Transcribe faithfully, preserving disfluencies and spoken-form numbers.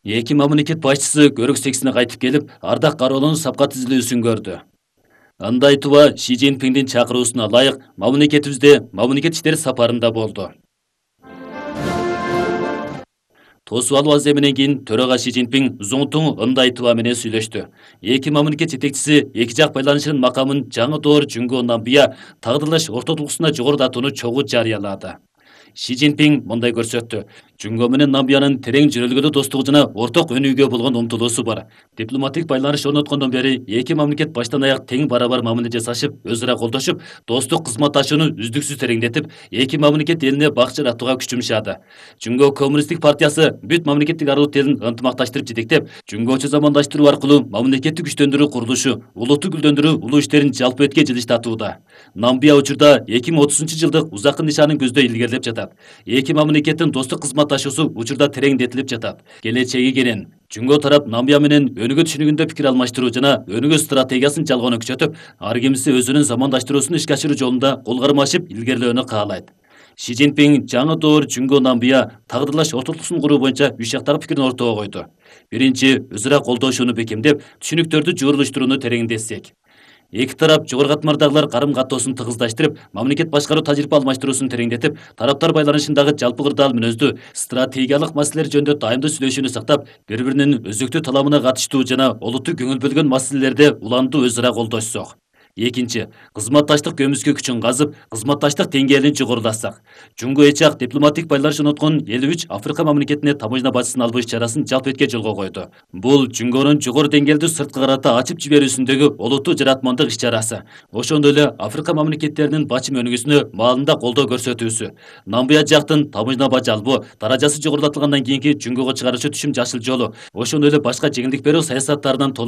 Эки мамлекет башчысы көрүк сексине кайтып келип, ардак кароолунун сапка түзүлүүсүн көрдү. Андай туба Ши Цзиньпиндин чакыруусуна ылайык мамлекетибизде мамлекет иштери сапарында болду. Тосуп алуу аземинен кийин төрага Ши Цзиньпин Зуңтуң Ындай туба менен сүйлөштү. Эки мамлекет жетекчиси эки жак байланышынын макамын жаңы доор Жүнгө Намбия тагдырлаш ортодулуксуна жогорулатууну чогуу жарыялады. Ши Цзиньпин мындай көрсөттү. Жүнгө менен Намбиянын терең жөнөлгөдө достугу жана орток өнүүгө болгон умтулуусу бар. Дипломатик байланыш орноткондон бери эки мамлекет баштан аяк тең барабар мамиле жасашып, өз ара колдошуп, достук кызматташууну үздүксүз тереңдетип, эки мамлекет элине бак жаратууга күч жумшады. Жүнгө Коммунисттик партиясы бүт мамлекеттик аралык элин ынтымакташтырып жетектеп, Жүнгөчө замандаштыруу аркылуу мамлекеттик күчтөндүрүү курулушу, улутту гүлдөндүрүү улуу иштерин жалпы өткө жылыштатууда. Намбия учурда эки миң отузунчу жылдык узаккы нишанын көздөй илгерилеп жатат. Эки мамлекеттин достук кызматташуусу учурда тереңдетилип жатат. Келечеги кенен. Жүнгө тарап Намбия менен өнүгүү түшүнүгүндө пикир алмаштыруу жана өнүгүү стратегиясын жалгоону күчөтүп, ар кимиси өзүнүн замандаштыруусун ишке ашыруу жолунда кол кармашып илгерилөөнү каалайт. Ши Цзиньпин жаңы доор Жүнгө Намбия тагдырлаш ортодулуксун куруу боюнча үч жактагы пикирин ортого койду. Биринчи, өз ара колдошууну бекемдеп, түшүнүктөрдү жуурулуштурууну тереңдетсек. Эки тарап жогору катмардагылар карым каттоосун тыгыздаштырып, мамлекет башкаруу тажрыйба алмаштыруусун тереңдетип, тараптар байланышындагы жалпы кырдаал мүнөздүү, стратегиялык маселелер жөнүндө дайымдуу сүйлөшүүнү сактап, бири-биринин өзөктүү таламына катыштуу жана олуттуу көңүл бөлгөн маселелерде уланду өз ара колдошсок. Экинчи, кызматташтык көмүскө күчүн казып, кызматташтык деңгээлин жогорулатсак. Жүнгө эч жак дипломатик байланыш орноткон элүү үч Африка мамлекетине таможня бажысын албоо иш-чарасын жалпы өткө жолго койду. Бул Жүнгөнүн жогору деңгээлдүү сырткы карата ачып жиберүүсүндөгү олуттуу жаратмандык иш-чарасы. Ошондой эле Африка мамлекеттеринин бачым өнүгүүсүнө маалында колдоо көрсөтүүсү. Намбия жактын таможня бажы албоо даражасы жогорулатылгандан кийинки Жүнгөгө чыгаруучу түшүм жашыл жолу, ошондой эле башка жеңилдик берүү саясаттарынан толук